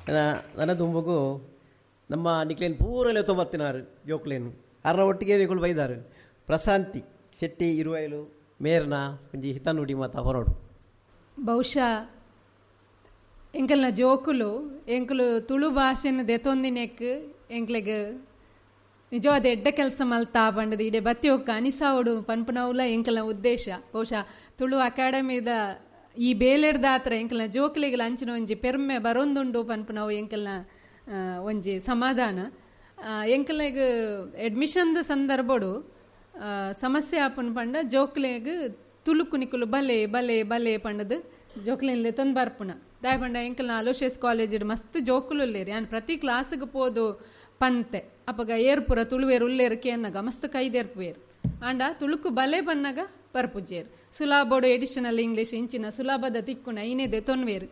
ನನ್ನ ದುಂಬುಗು ನಮ್ಮ ನಿಕ್ಲೇನ್ ಪೂರಲೆ ತೊಂಬತ್ತಿನಾರು ಜೋಕ್ಲೇನು ಅರ್ನ ಒಟ್ಟಿಗೆ ನಿಕುಲು ಬೈದಾರು ಪ್ರಶಾಂತಿ ಶೆಟ್ಟಿ ಇರುವೈಲು ಮೇರ್ನ ಒಂಜಿ ಹಿತನುಡಿ ಮಾತ ಹೊರಡು. ಬಹುಶಃ ಎಂಕಲ್ನ ಜೋಕುಲು ಎಂಕುಲು ತುಳು ಭಾಷೆನ ದೆತೊಂದಿನೆಕ್ ಎಂಕ್ಲೆಗ್ ನಿಜವಾದ ಎಡ್ಡ ಕೆಲಸ ಮಲ್ತಾ ಪಂಡದು ಇಡೆ ಬತ್ತಿ ಒಕ್ಕ ಅನಿಸಾವಡು ಪನ್ಪುನವುಲ ಎಂಕಲ್ನ ಉದ್ದೇಶ. ಬಹುಶಃ ತುಳು ಅಕಾಡೆಮಿದ ಈ ಬೇಲೆಡ್ದಾತ್ರ ಎಂಕಲ್ನ ಜೋಕುಲೆಗ್ ಅಂಚಿನ ಒಂಜಿ ಪೆರ್ಮೆ ಬರೊಂದುಂಡು ಪನ್ಪುನವು ಎಂಕಲ್ನ ಒಂಜಿ ಸಮಾಧಾನ. ಎಂಕಲ್ನೆಗ್ ಅಡ್ಮಿಷನ್ದ ಸಂದರ್ಭಡು ಸಮಸ್ಯೆ ಆಪುನ ಪಂಡ ಜೋಕ್ಲೆಗ್ ತುಳುಕು ನಿಕುಲು ಬಲೆ ಬಲೆ ಬಲೆ ಪಂಡದು ಜೋಕ್ಲೆನ್ಲೆ ತೊಂದು ಬರ್ಪುನ ದಾಯ ಪಂಡ ಎಂಕಲ್ನ ಅಲೋಶಿಯಸ್ ಕಾಲೇಜ್ ಮಸ್ತ್ ಜೋಕುಲು ಉಲ್ಲೇರು. ಯಾನ್ ಪ್ರತಿ ಕ್ಲಾಸ್ಗೆ ಪೋದು ಪಂತೆ ಅಪಗ ಏರ್ಪುರ ತುಳುವೇರು ಉಲ್ಲೇರು ಕೇನ್ನಗ ಮಸ್ತ್ ಕೈದೇರ್ಪುವೇರು ಆಂಡ ತುಳುಕು ಬಲೆ ಪನ್ನಗ ಪರ್ಪುಜೇರು ಸುಲಾಬೋಡು ಎಡಿಷನಲ್ ಇಂಗ್ಲೀಷ್ ಇಂಚಿನ ಸುಲಾಭದ ತಿಕ್ಕುನ ಐನೇದೆ ತೊನ್ವೇರು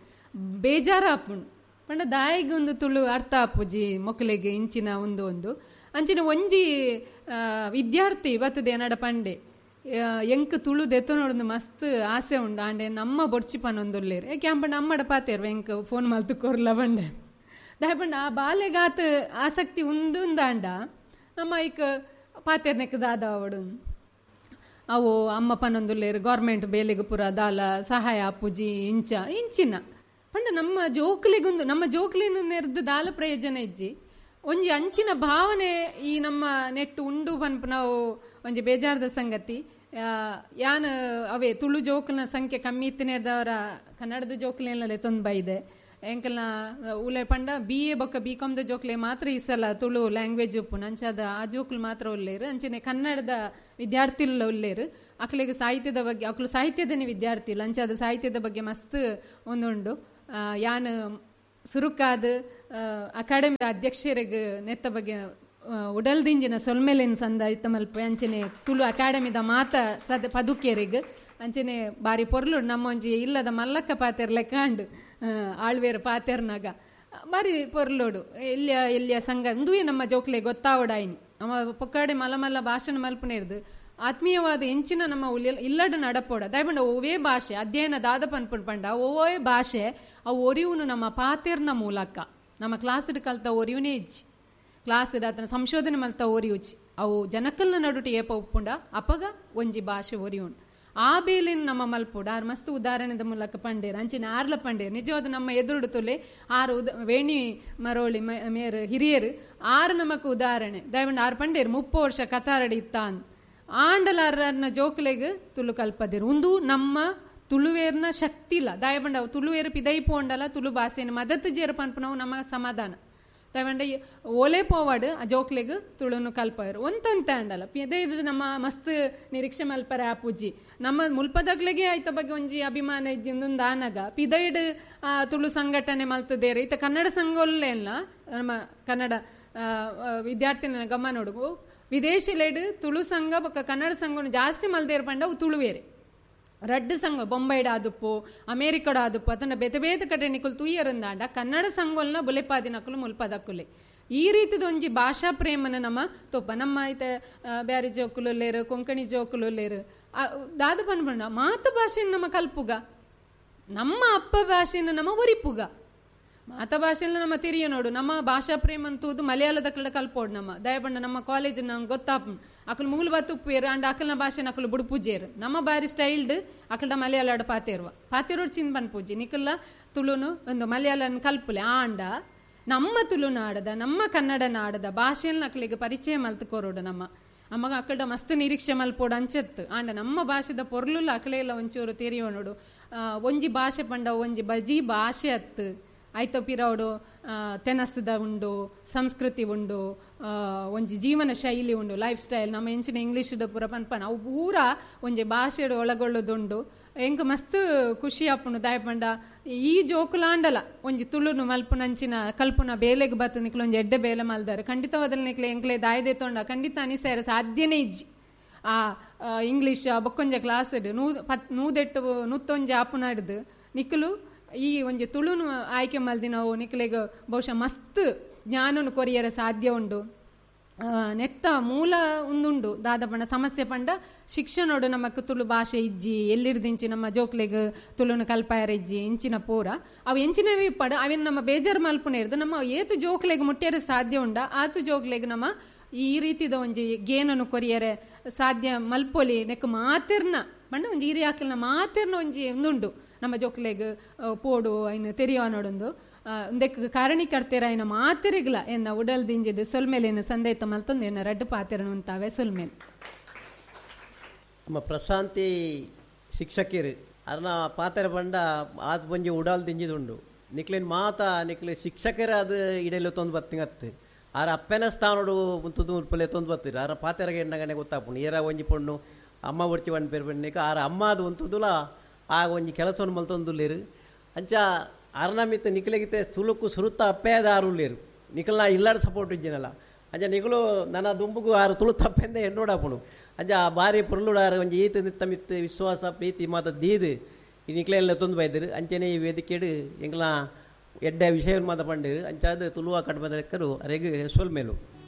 ಬೇಜಾರ ಆಪುಂಡು ಪಂಡ ದಾಯಿಗೆ ಒಂದು ತುಳು ಅರ್ಥ ಆಪುಜಿ ಮೊಕ್ಕಲಿಗೆ ಇಂಚಿನ ಒಂದು ಒಂದು ಅಂಚಿನ ಒಂಜಿ ವಿದ್ಯಾರ್ಥಿ ಬತ್ತದೆ ನಡ ಪಂಡೆ ಎಂಕ್ ತುಳು ದೆತ್ತೊನೊಡೊಂದು ಮಸ್ತ್ ಆಸೆ ಉಂಡು ಆಂಡೆ ನಮ್ಮ ಬೊಡ್ಚಿ ಪನೊಂದುಲ್ಲೇರು ಏಕೆ ಅಂಪಂಡ ಅಮ್ಮಡ ಪಾತೇರು ಎಂಕ್ ಫೋನ್ ಮಲ್ತು ಕೊರ್ಲ ಪಂಡೆ ದಾಯ ಪಂಡ ಆ ಬಾಲೆಗಾತ ಆಸಕ್ತಿ ಉಂಡುಂದಾಂಡ ನಮ್ಮ ಐಕ್ ಪಾತೇರ್ನೆಕ್ ದಾದ ಅವಡು ಅವು ಅಮ್ಮ ಪನೊಂದುಲ್ಲೇರು ಗೌರ್ಮೆಂಟ್ ಬೇಲೆಗೆ ಪೂರ ದಾಲ ಸಹಾಯ ಪೂಜಿ ಇಂಚ ಇಂಚಿನ ಪಂಡ ನಮ್ಮ ಜೋಕ್ಲಿಗೊಂದು ನಮ್ಮ ಜೋಕ್ಲಿನ ನೆರ್ದು ದಾಲ ಪ್ರಯೋಜನ ಇಜ್ಜಿ ಒಂಜಿ ಅಂಚಿನ ಭಾವನೆ ಈ ನಮ್ಮ ನೆಟ್ಟು ಉಂಡು ಪನ್ಪ ನಾವು ಒಂಜಿ ಬೇಜಾರದ ಸಂಗತಿ. ಯಾನ್ ಅವೇ ತುಳು ಜೋಕ್ಲಿನ ಸಂಖ್ಯೆ ಕಮ್ಮಿ ಇತ್ತಿನೇರ್ದವರ ಕನ್ನಡದ ಜೋಕ್ಲಿನಲ್ಲೇ ತೊಂದು ಬೈದೆ ಎಂಕಲ್ನ ಉಲೆ ಪಂಡ ಬಿ ಎ ಬೊಕ್ಕ ಬಿ ಕಾಮ್ದ ಜೋಕ್ಲೆ ಮಾತ್ರ ಈ ಸಲ ತುಳು ಲ್ಯಾಂಗ್ವೇಜ್ ಉಪ್ಪುನು ಅಂಚಾದ ಆ ಜೋಕ್ಲು ಮಾತ್ರ ಉಲ್ಲೇರು ಅಂಚನೆ ಕನ್ನಡದ ವಿದ್ಯಾರ್ಥಿಲು ಉಲ್ಲೇರು ಅಕ್ಲೆಗ್ ಸಾಹಿತ್ಯದ ಬಗ್ಗೆ ಅಕ್ಲು ಸಾಹಿತ್ಯದನೇ ವಿದ್ಯಾರ್ಥಿಲು ಅಂಚಾದ ಸಾಹಿತ್ಯದ ಬಗ್ಗೆ ಮಸ್ತ್ ಒಂದುಂಡು. ಯಾನ್ ಸುರುಕಾದ ಅಕಾಡೆಮಿ ಅಧ್ಯಕ್ಷರಿಗೆ ನೆತ್ತ ಬಗ್ಗೆ ಉಡಲ್ದಿಂಜಿನ ಸೊಲ್ಮೆಲೆನ್ ಸಂದಾಯಿತ ಮಲ್ಪೆ ಅಂಚನೆ ತುಳು ಅಕಾಡೆಮಿದ ಮಾತ ಸದ ಪದುಕೇರಿಗೆ ಅಂಚನೆ ಬಾರಿ ಪೊರ್ಲು ನಮ್ಮ ಒಂಜಿ ಇಲ್ಲದ ಮಲ್ಲಕ್ಕ ಪಾತೆರ್ ಲೆಕ್ಕಾಂಡು ಆಳ್ವೇರು ಪಾತೆರ್ನಾಗ ಬಾರಿ ಪೊರ್ಲೋಡು ಎಲ್ಲಿಯ ಎಲ್ಲಿಯ ಸಂಘ ಉಂದುವೇ ನಮ್ಮ ಜೋಕ್ಲೆ ಗೊತ್ತಾವಡಾಯಿನಿ ನಮ್ಮ ಪೊಕ್ಕಾಡೆ ಮಲ್ಲ ಮಲ್ಲ ಭಾಷಣ ಮಲ್ಪನೇರ್ದು ಆತ್ಮೀಯವಾದ ಎಂಚಿನ ನಮ್ಮ ಇಲ್ಲಡ ನಡಪೋಡ ದಯಪಂಡ ಒವೇ ಭಾಷೆ ಅಧ್ಯಯನ ದಾದ ಪನ್ಪುಂಡು ಪಂಡ ಒವೇ ಭಾಷೆ ಅವು ಒರಿವುನು ನಮ್ಮ ಪಾತೆರ್ನ ಮೂಲಕ ನಮ್ಮ ಕ್ಲಾಸ್ಡ್ ಕಲ್ತ ಒರಿಯುನೇ ಇಜ್ಜಿ ಕ್ಲಾಸ್ ಆತನ ಸಂಶೋಧನೆ ಮಲ್ತ ಒರಿಯುಚಿ ಅವು ಜನಕಲ್ನ ನಡುಟು ಏಪ ಉಪ್ಪುಂಡ ಅಪಗ ಒಂಜಿ ಭಾಷೆ ಒರಿಯುಂಡು ಆ ಬೇಲಿನ ನಮ್ಮ ಮಲ್ಪುಡ ಆರು ಮಸ್ತ್ ಉದಾಹರಣೆದ ಮೂಲಕ ಪಂಡೇರು ಅಂಚಿನ ಆರ್ಲ ಪಂಡೇರು ನಿಜವಾದ ನಮ್ಮ ಎದುರುಡು ತುಲೆ ಆರು ವೇಣಿ ಮರೋಳಿ ಮೇರು ಹಿರಿಯರು ಆರು ನಮಕ್ ಉದಾಹರಣೆ ದಯವಂಡ ಆರು ಪಂಡೇರು 30 ವರ್ಷ ಕತಾರಡಿ ಇತ್ತಾನ್ ಆಂಡಲಾರನ್ನ ಜೋಕ್ಲೆಗ್ ತುಳು ಕಲ್ಪದಿರು ಉಂದು ನಮ್ಮ ತುಳುವೇರ್ನ ಶಕ್ತಿ ಇಲ್ಲ ದಯಬಂಡ ತುಳುವೇರು ಪಿದೈ ಪೋಂಡಲ ತುಳು ಭಾಷೆನ ಮದತ್ ಜೇರು ಪನ್ಪುನವು ನಮ್ಮ ಸಮಾಧಾನ ದಯವಂಡ ಓಲೆ ಪೋವಾಡು ಆ ಜೋಕ್ಲೆಗ್ ತುಳುನು ಕಲ್ಪರು ಒಂತೊಂತೆ ಅಂಡಲ ಪಿದೈ ನಮ್ಮ ಮಸ್ತ್ ನಿರೀಕ್ಷೆ ಮಲ್ಪರೆ ಆ ಪೂಜಿ ನಮ್ಮ ಮುಲ್ಪದಗ್ಲೆಗೆ ಆಯ್ತ ಬಗ್ಗೆ ಒಂಜಿ ಅಭಿಮಾನ ಇಜ್ಜಿಂದೊಂದು ಆನಗ ಪಿದೈಡ್ ತುಳು ಸಂಘಟನೆ ಮಲ್ತದೇರು ಈತ ಕನ್ನಡ ಸಂಘ ಇಲ್ಲ ನಮ್ಮ ಕನ್ನಡ ವಿದ್ಯಾರ್ಥಿನ ಗಮನ ಹುಡುಗು ವಿದೇಶಿಲೇಡು ತುಳು ಸಂಘ ಬೊಕ್ಕ ಕನ್ನಡ ಸಂಘನು ಜಾಸ್ತಿ ಮಲ್ದೇರು ಪಂಡ ಅವು ತುಳುವೇರೆ ರಡ್ಡು ಸಂಘ ಬೊಂಬೈಡ್ ಆದುಪ್ಪು ಅಮೇರಿಕಡ ಆದುಪ್ಪು ಅದನ್ನ ಬೇತೆ ಬೇತೆ ಕಡೆ ನಿಕುಲು ತುಯ್ಯರಂದಾಂಡ ಕನ್ನಡ ಸಂಘಲ್ನ ಬುಲೆಪಾದಿನಕುಲು ಮುಲ್ಪದಕ್ಕುಲೆ ಈ ರೀತಿದ ಒಂಜಿ ಭಾಷಾ ಪ್ರೇಮನ ನಮ್ಮ ತೋಪ ನಮ್ಮ ಐತೆ ಬ್ಯಾರಿ ಜೋಕುಲು ಲೇರು ಕೊಂಕಣಿ ಜೋಕುಲು ಲೇರು ದಾದ ಪನ್ಪಂಡ ಮಾತು ಭಾಷೆನ ನಮ್ಮ ಕಲ್ಪುಗ ನಮ್ಮ ಅಪ್ಪ ಭಾಷೆನ ನಮ್ಮ ಒರಿಪುಗ ಮಾತ ಭಾಷೆಲ್ಲ ನಮ್ಮ ತಿರಿಯ ನೋಡು ನಮ್ಮ ಭಾಷಾ ಪ್ರೇಮನ್ ತೂದು ಮಲಯಾಳದ ಕಡೆ ಕಲ್ಪೋಡು ನಮ್ಮ ದಯಪಂಡ ನಮ್ಮ ಕಾಲೇಜ್ ನಂಗೆ ಗೊತ್ತಾಪ್ ಅಕಲ್ ಮೂಲ ಬತ್ತುಪ್ಪೇರು ಅಂಡ್ ಅಕಲ್ನ ಭಾಷೆನ ಅಕಲು ಬುಡುಪೂಜೇರು ನಮ್ಮ ಬಾರಿ ಸ್ಟೈಲ್ಡ್ ಅಕಲ್ಡ ಮಲಯಾಳ ಪಾತೇರುವ ಪಾತೇರೋಡು ಚಿಂದ ಪೂಜೆ ನಿಕಲ್ಲ ತುಳುನು ಒಂದು ಮಲಯಾಳನ ಕಲ್ಪುಲೆ ಆಂಡ ನಮ್ಮ ತುಳುನಾಡದ ನಮ್ಮ ಕನ್ನಡ ನಾಡದ ಭಾಷೆಯಲ್ಲಿ ಅಕ್ಲಿಗೆ ಪರಿಚಯ ಮಲ್ತುಕೋರೋಡು ನಮ್ಮ ಅಮ್ಮಗ ಅಕ್ಕಡ ಮಸ್ತ್ ನಿರೀಕ್ಷೆ ಮಲ್ಪೋಡು ಅಂಚೆತ್ತು ಆಂಡ ನಮ್ಮ ಭಾಷೆದ ಪೊರ್ಲುಲ್ಲ ಅಕಲೆಲ್ಲ ಒಂಚೂರು ತೆರಿಯೋ ನೋಡು ಒಂಜಿ ಭಾಷೆ ಪಂಡ ಒಂಜಿ ಬಜಿ ಭಾಷೆ ಅತ್ತು ಆಯ್ತು ಪಿರವಡು ತೆನಸದ ಉಂಡು ಸಂಸ್ಕೃತಿ ಉಂಡು ಒಂಜಿ ಜೀವನ ಶೈಲಿ ಉಂಡು ಲೈಫ್ ಸ್ಟೈಲ್ ನಮ್ಮ ಎಂಚಿನ ಇಂಗ್ಲೀಷ್ ಪೂರ ಪನ್ಪನ ಅವು ಪೂರ ಒಂಜಿ ಭಾಷೆಡು ಒಳಗೊಳ್ಳೋದುಂಡು ಎಂಕ್ ಮಸ್ತ್ ಖುಷಿ ಆಪುಂಡು ದಾಯಪಂಡ ಈ ಜೋಕುಲಾಂಡಲ ಒಂಜಿ ತುಳುನು ಮಲ್ಪುನಂಚಿನ ಕಲ್ಪುನ ಬೇಲೆಗೆ ಬತ್ತು ನಿಕ್ಲು ಒಂಜಿ ಎಡ್ಡೆ ಬೇಲೆ ಮಲ್ದಾರೆ ಖಂಡಿತವಾದಲ್ಲಿ ನಿಕ್ಲೆ ಎಂಕ್ಲೆ ದಾಯದೆ ತೊಂಡ ಖಂಡಿತ ಅನಿಸಾರ ಸಾಧ್ಯನೇ ಇಜ್ಜಿ ಆ ಇಂಗ್ಲೀಷ್ ಬೊಕ್ಕೊಂಜ ಕ್ಲಾಸ್ ನೂದೆಟ್ಟು ನೂತ್ತೊಂಜಿ ಆಪುನ ಹಿಡ್ದು ನಿಕ್ಲು ಈ ಒಂಜಿ ತುಳುನು ಆಯ್ಕೆ ಮಲ್ದಿನವು ನಿಕ್ಲೆಗ್ ಬಹುಶಃ ಮಸ್ತ್ ಜ್ಞಾನನು ಕೊರಿಯರ ಸಾಧ್ಯ ಉಂಡು. ನೆತ್ತ ಮೂಲ ಉಂದುಂಡು ದಾದ ಪಂಡ ಸಮಸ್ಯೆ ಪಂಡ ಶಿಕ್ಷಣೋಡು ನಮಕ್ ತುಳು ಭಾಷೆ ಇಜ್ಜಿ, ಎಲ್ಲಿರ್ದಿಂಚಿ ನಮ್ಮ ಜೋಕ್ಲೆಗ್ ತುಳುನು ಕಲ್ಪಾಯರ ಇಜ್ಜಿ ಇಂಚಿನ ಪೂರ ಅವು ಎಂಚಿನವಿ ಪಡ ಅವಿನ ನಮ್ಮ ಬೇಜಾರು ಮಲ್ಪುನೇರ್ದು ನಮ್ಮ ಏತು ಜೋಕ್ಲೆಗ್ ಮುಟ್ಟ್ಯರೆ ಸಾಧ್ಯ ಉಂಡ ಆತು ಜೋಕ್ಲೆಗ್ ನಮ್ಮ ಈ ರೀತಿದ ಒಂಜಿ ಗೇನನು ಕೊರಿಯರೆ ಸಾಧ್ಯ ಮಲ್ಪೊಲಿ. ನೆಕ್ ಮಾತೆರ್ನ ಪಂಡ ಒಂಜಿ ಹಿರಿಯಾಕ್ಲೆನ ಮಾತೆರ್ನ ಒಂಜಿ ಉಂದುಂಡು ನಮ್ಮ ಜೋಕ್ಲೆಗ್ ಪೋಡು ಐನ್ ತೆರಿಯೋನೊಡೊಂದು ಉಂದೆಕ್ ಕಾರಣೀಕರ್ತೆರಾಯಿನ ಮಾತೆರಿಗ್ಲ ಎನ್ನ ಉಡಲ್ ದಿಂಜಿದ್ ಸೊಲ್ಮೆಲೇನು ಸಂದೈತ ಮಲ್ತೊಂದು ಎನ್ನ ರಡ್ಡು ಪಾತೆರನು ಉಂತಾವೆ ಸೊಲ್ಮೇಲ್. ನಮ್ಮ ಪ್ರಶಾಂತಿ ಶಿಕ್ಷಕಿರು ಅರ್ನ ಪಾತೆರ ಪಂಡ ಆತ್ ಒಂಜಿ ಉಡಾಲ್ ದಿಂಜಿದುಂಡು. ನಿಕ್ಲೆನ್ ಮಾತ ನಿಕ್ಲೆ ಶಿಕ್ಷಕರಾದ ಇಡೆಲು ತೊಂದು ಬತ್ತಿಂಗತ್ತು ಆರ ಅಪ್ಪೆನ ಸ್ಥಾನಡು ತುದು ಉಲ್ಪಲೆ ತೊಂದು ಬತ್ತಿರು. ಆರ ಪಾತೆರಗೆ ಎಣ್ಣಗನೆ ಗೊತ್ತಾಪುಂಡು ಏರ ಒಂಜಿ ಪೊಣ್ಣು ಅಮ್ಮ ಒರ್ಚಿ ಪಣ್ ಪೇರು ಪಣ್ಣೆಕ್ ಆರ ಅಮ್ಮ ಅದು ಉಂತುದುಲ ಆ ಒಂಜಿ ಕೆಲಸವನ್ನು ಮಲ್ತೊಂದುಲ್ಲೇರು. ಅಂಚ ಅರ್ನ ಮಿತ್ತ ನಿಕ್ಲೆಗಿತ್ತೆ ತುಳುಕು ಸುರುತ್ತ ಅಪ್ಪೆದ ಆರುಲ್ಲೇರು ನಿಕಲ್ನ ಇಲ್ಲಾಡ ಸಪೋರ್ಟ್ ಇಜ್ಜಿನಲ್ಲ. ಅಂಚ ನಿಕಲು ನನ್ನ ದುಂಬುಗು ಆರು ತುಳು ತಪ್ಪೆಂದೆ ಎನ್ನೋಡಾಪುಂಡು. ಅಂಚ ಆ ಬಾರಿ ಪೊರ್ಲುಡಾರು ಒಂಜಿ ಈತ ನಿತ್ತ ಮಿತ್ತ ವಿಶ್ವಾಸ ಪ್ರೀತಿ ಮಾತ ದೀದು ಈ ನಿಕ್ಲೆಲ್ಲ ತೊಂದು ಬೈದರು. ಅಂಚನೆ ಈ ವೇದಿಕೆಡು ಎಂಗ್ಲ ಎಡ್ಡೆ ವಿಷಯ ಮಾತ ಪಂಡೇರು. ಅಂಚಾದ ತುಳುವ ಕಡ್ಮದ ಲೆಕ್ಕರು ಅರೆಗ್ ಸೊಲ್ಮೇಲು.